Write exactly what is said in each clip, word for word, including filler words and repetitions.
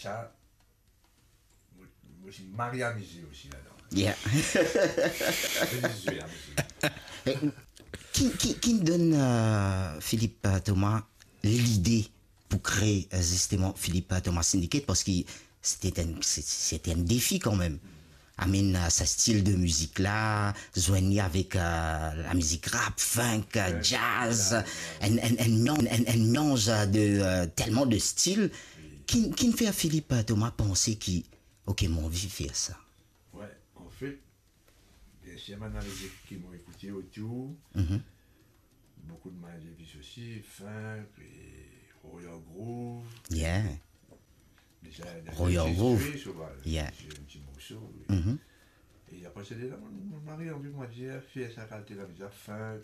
Sa, mo, mo ti mari amize osi ladan. Yeah. Mo ti zwe amize. E, ki, ki, ki donn, euh, Philippe, euh, Thomas lide pou kree, euh, zisteman Philippe, euh, Thomas Syndicate, parski se ti enn, se, se ti enn defi kanmem. I mean, euh, sa stil de mizik la, zwenn li avek, euh, lamizik rap, funk, euh, jazz, enn, enn, enn melanz, enn, enn melanz, euh, de, euh, telman de stil. Ki, ki fer Philippe, euh, Thomas panse ki, "Ok, mo anvi fer sa"? Wi, anfet, biensir, bann lamizik ki mo ekoute otour, boukou de Miles Davis osi, funk e Royal Groove. Yeah. Deza, Royal Groove. Zwe, so, yeah. Zwe enn ti morso, wi. E apre sa, deza, mo, mo mari anvi mwa dir, fer sa kalite lamizik, funk,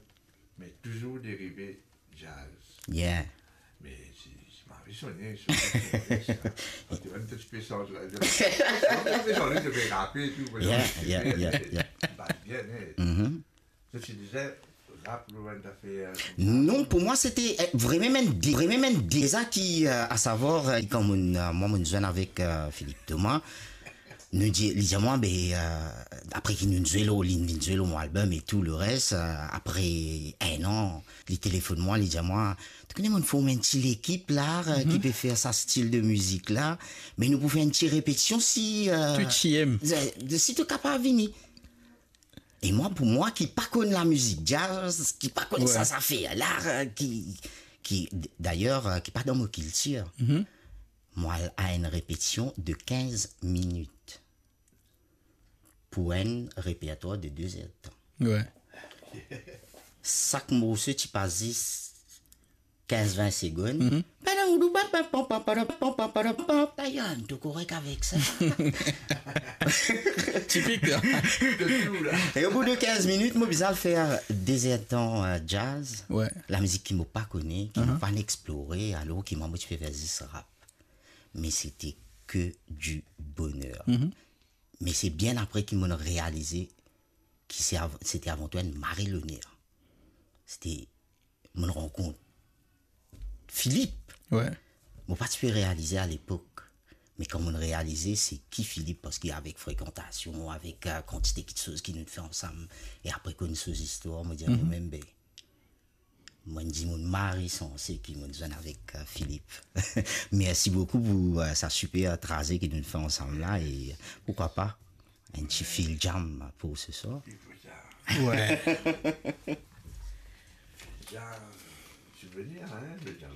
me touzour derive jazz. Yeah. Me si, si mari sone, so, ti pe sant la, ti pe rape tou, yeah, yeah, yeah, yeah. Bas bien, eh. Zot ti deza rap lor enn zafer, euh, koumsa? Non, pou mwa, se ti, eh, vremem enn de-, vremem enn deza ki, euh, asavwar, euh, kan mo'nn, euh, mwa, mo'nn zwenn avek, euh, Philippe Thomas, nou dir, li dir mwa, be, euh, apre ki nou zwe lor, li vinn zwe lor mo album e tou leres, euh, apre enn an, li telefonn mwa, li dir mwa, "To kone, mo'nn form enn ti lekip la, euh, ki pe fer sa stil de mizik la, me nou pou fer enn ti repetision si, euh, to ti enn, si to kapav vini." E mwa, pou mwa ki pa konn lamizik jazz, ki pa konn sa zafer la, ki, ki, dayer, ki pa dan mo kiltir, mwa al a enn repetision de kinz minit pou enn repertwar de de zer de tan. Wi. Sak morso ti pas zis kinz vin segonn. Dayer, to korek avek sa. Tipik, la. E o bout de kinz minit, mo bizin al fer de zer de tan, euh, jazz. Wi. Lamizik ki mo pa kone, ki mo pa'nn explore, alor ki mwa, mo ti pe fer zis rap. Me se ti ke di boner. Me se bien apre ki mo'nn realize ki se av-, se ti avan tou enn mari loner. Se ti, mo'nn rankont Philippe. Wi. Mo pa ti pe realize alepok, me kan mo'nn realize se ki Philippe, parski avek frekantasion, avek, euh, kantite kiksoz ki nou fer ansam, e apre konn so zistwar, mo dir momem, be, mo'nn dimoun mari sanse ki mo'nn zwenn avek, euh, Philippe. Mersi boukou pou, euh, sa siper traze ki nou fer ansam la, e, euh, poukwa pa enn ti fil jam pou se swar. Wi. Fil jam, souvenir, hein, le jam.